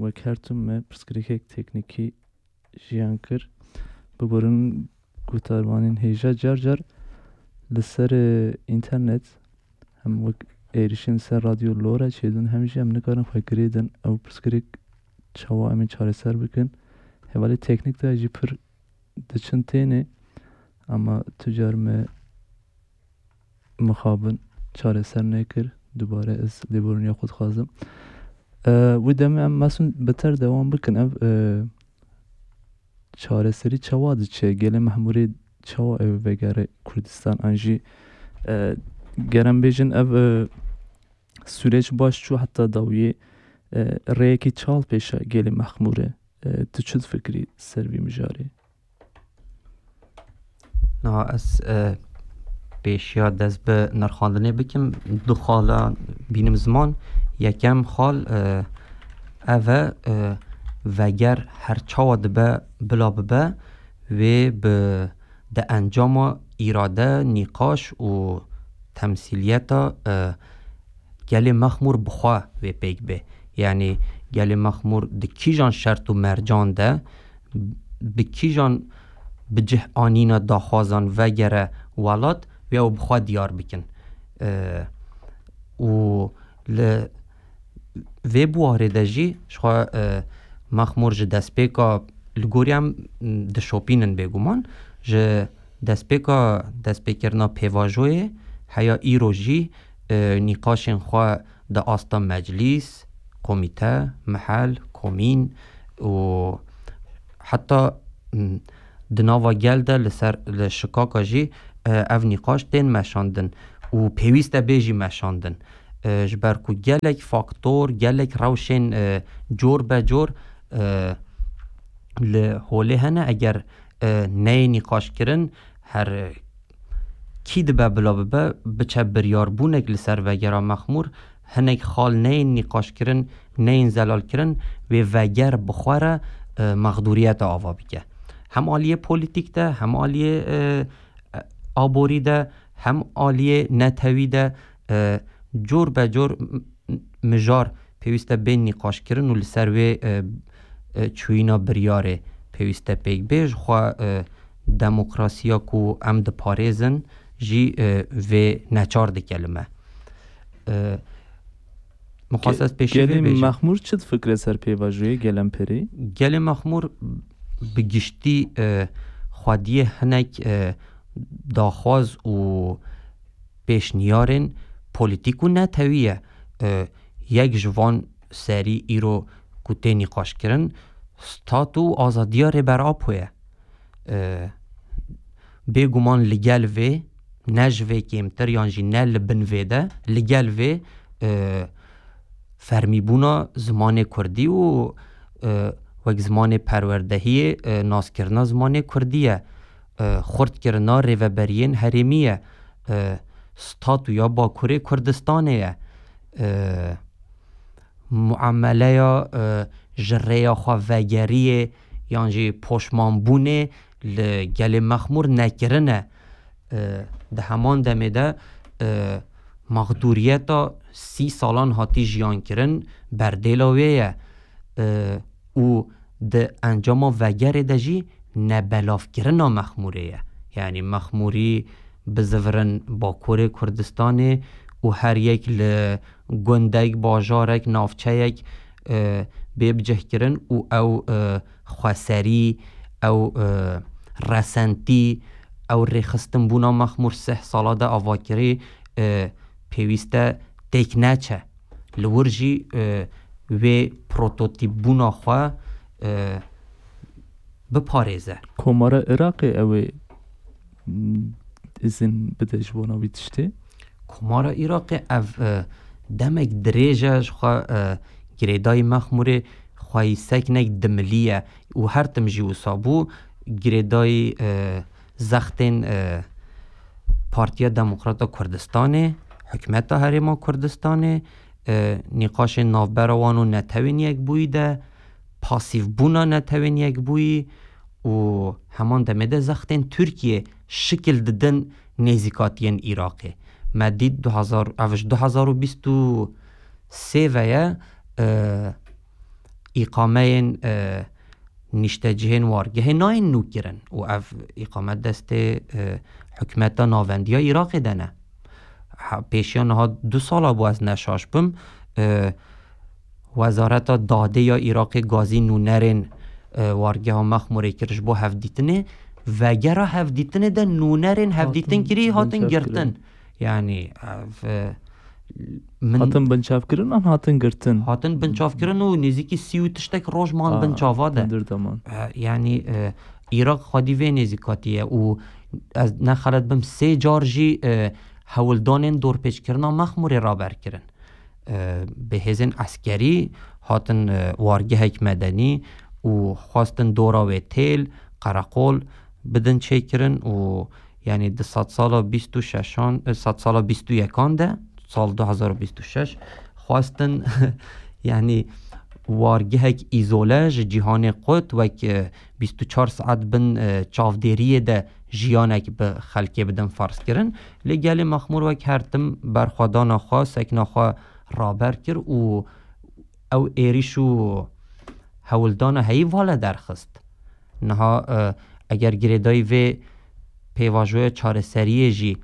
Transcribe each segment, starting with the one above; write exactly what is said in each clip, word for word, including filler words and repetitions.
Wek her tim me pirsgirêkek teknîkî jiyan kir. Biborin guhdarvanên hêja car car li ser, e, înternet hem wek êrişên ser radyo lora çêdin hem jî em nikarin xwe girê din. Ew pirsgirêk çawa em ê çareser bikin? Hevalê teknîk de jî pir diçin tênê, ama tu car me mixabin çareser nekir. Dubare ez lêborîniya xwe dixwazim. E, wê demê em mesun beter dewam bikin. Ev, e, çareserî çawa diçe? Gelê Mehmûrê çawa ew vegere Kurdistan? An jî, e, gerem bêjin ev, e, sûreç baş çû heta dawiyê, e, rêyekî çal pêşa gelê Mexmûrê. E, tu çi difikirî ser vî mijarê? Niha ez, e, pêşiya dest bi nirxandinê bikim, du xala bînim ziman. Yekem xal, e, ev e, e, veger her çawa dibe bila bibe, wê bi, di encama îrade, nîqaş û temsîliyeta, e, gelê Mexmûr bi xwe wê pêk bê. Yanî gelê Mexmûr di kîjan şert û mercan de, bi kîjan bi cih anîna daxwazan vegere welat, wê ew bi xwe diyar bikin. E, û li vê buwarê de jî ji xwe, e, Mexmûr ji destpêka li gorî em, m, dişopînin bêguman, ji destpêka destpêkirina pêvajoyê heya îro jî, e, nîqaşên xwe di asta meclîs, komîte, mihel, komîn û heta, m, di nava gel de li ser, li şikaka jî, e, ev nîqaş tên meşandin û pêwîst e bê jî meşandin. E, ji ber ku gelek faktor, gelek rewşên, e, cor be cor, e, li holê hene, eger, e, neyê nîqaşkirin, her kî dibe bila bibe, biçe biryarbûnek li ser vegera Mexmûr, hinek xal neyên nîqaşkirin, neyên zelalkirin, wê veger bi xwe re, e, mexdûriyete ava bike. Hem aliyê polîtîk de, hem aliyê, e, aborî de, hem aliyê netewî de, e, cor be cor m-, m-, mijar pêwîst e bên nîqaşkirin û li ser wê, e, e, çûyîna biryarê pêwîst e pêk bê. Ji xwe, e, demokrasiya ku em diparêzin jî, e, vê neçar dike li me. E, Mixwest ez pêşî vê bêjim. Mexmûr çi difikire ser pêvajoyê Gelemperê? Gelê Mexmûr bi giştî, e, xwediyê hinek, e, daxwaz û pêşniyarên polîtîk û netewî ye. E, yek ji van serî îro ku tê nîqaşkirin, stat û azadiya Rêber Apo ye. E, bêguman li gel vê, ne ji vê kêmtir yan jî ne li bin vê de, li gel vê, e, fermîbûna zimanê kurdî û, e, wek zimanê perwerdehiyê, e, naskirina zimanê kurdî ye. E, xurtkirina rêveberiyên herêmî ye. E, statûya Bakurê Kurdistanê ye. E, muameleya, e, ji rêya xwe vegeriyê yan jî poşmanbûnê li gelê Mexmûr nekirine. E, di heman demê de, e, mexdûriyeta sî salan hatî jiyan kirin berdêla wê ye. E, û di encama vegerê de jî nebelavkirina Mexmûrê ye. Yanî Mexmûrî bizivirin Bakurê Kurdistanê û her yek li gundek, bajarek, navçeyek, e, bê bicihkirin û ew, e, xweserî, ew, e, resentî, ew rêxistinbûna Mexmûr sih sala de avakirî, e, pêwîst e têk neçe. Li wir jî, e, wê prototîpbûna xwe, e, biparêze. Komara Iraqê ew ê, m, izin bide ji bona wî tiştê? Komara Iraqê ev, e, demek dirêj e ji xwe, e, girêdayî Mexmûrê xweyî seknek dimiliye û her tim jî wisa bû. Girêdayî, e, zextên, e, Partiya Demokrata Kurdistanê, Hikûmeta Herêma Kurdistanê, e, nîqaşên navbera wan û Netewên Yekbûyî de, pasîvbûna Netewên Yekbûyî û heman demê de zextên Tirkiyê şikil didin nêzîkatiyên Iraqê. Me dît du hezar, ev ji du hezar û bîst û sê ve ye, e, îqameyên, e, niştecihên wargehê nayên nû kirin û ev îqame destê, e, hikûmeta navendiya Iraqê de ne. Ha, pêşiya niha du sala bû, ez neşaş bim, e, Wezareta Dadê ya Iraqê gazî nûnerên, e, wargeha Mexmûrê kir ji bo hevdîtinê. Vegera hevdîtinê de nûnerên hevdîtin kirî hatin girtin. Yanî, ev, e, min Hatin binçavkirin an hatin girtin? Hatin binçavkirin û nêzîkî sî û tiştek roj man Aa, binçava de. Hundir de man. E, yanî, e, Iraq xwedî vê nêzîkatî ye û ez ne xelet bim sê car jî, e, hewldanên dorpêçkirina Mexmûrê raber kirin. E, bi hêzên eskerî hatin, e, wargehek medenî û xwestin dora wê têl, qereqol bidin çêkirin û, yanî, di sedsala bîst û şeşan, e, sedsala bîst û yekan de, sal du hezar û bîst û şeş, xwestin, yanî, wargehek îzole ji cîhanê qut wek, e, bîst û çar saet bin, e, çavdêriyê de jiyanek bi xelkê bidin ferz kirin. Lê gelê Mexmûr wek her tim berxwedana xwe, sekna xwe raber kir û ew êrîş û hewldana heyî vala derxist. Niha, e, eger girêdayî vê pêvajoya çareseriyê jî,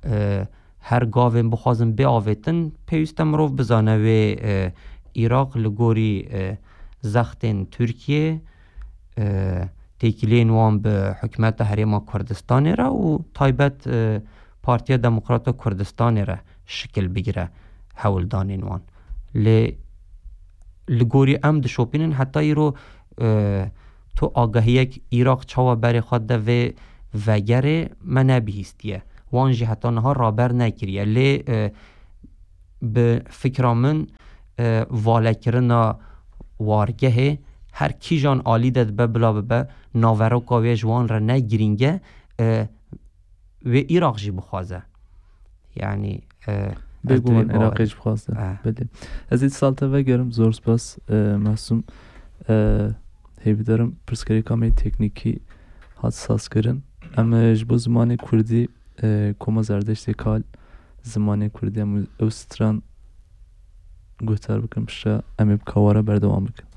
e, her gavên bixwazin bê avêtin, pêwîst e mirov bizane wê, e, Iraq li gorî, e, zextên Tirkiyê, e, têkiliyên wan bi hikûmeta Herêma Kurdistanê re û taybet, e, Partiya Demokrata Kurdistanê re şikil bigire hewldanên wan. Lê li gorî em dişopînin heta îro, e, tu agahiyek Iraq çawa berê xwe de vê vegerê me nebihîstiye. Wan jî heta niha raber nekiriye. Lê, e, bi fikra min, e, valekirina wargehê her kîjan alî de dibe bila bibe, naveroka wê ji wan re ne girîng e, e, wê Iraq jî bixwaze. Yanî, e, ez Bêguman diwê Iraqê bawer jî bixwaze. Eh. Belê. Ez ê sal te vegerim, zor spas, e, Mesûm. E, hêvîdarim pirsgirêka me teknîkî hat sazkirin. Em, e, ji bo zimanê kurdî, e, Koma Zerdeştê Kal, zimanê kurdî em ew stran guhdar bikin, piştre em ê bi kawara berdewam bikin.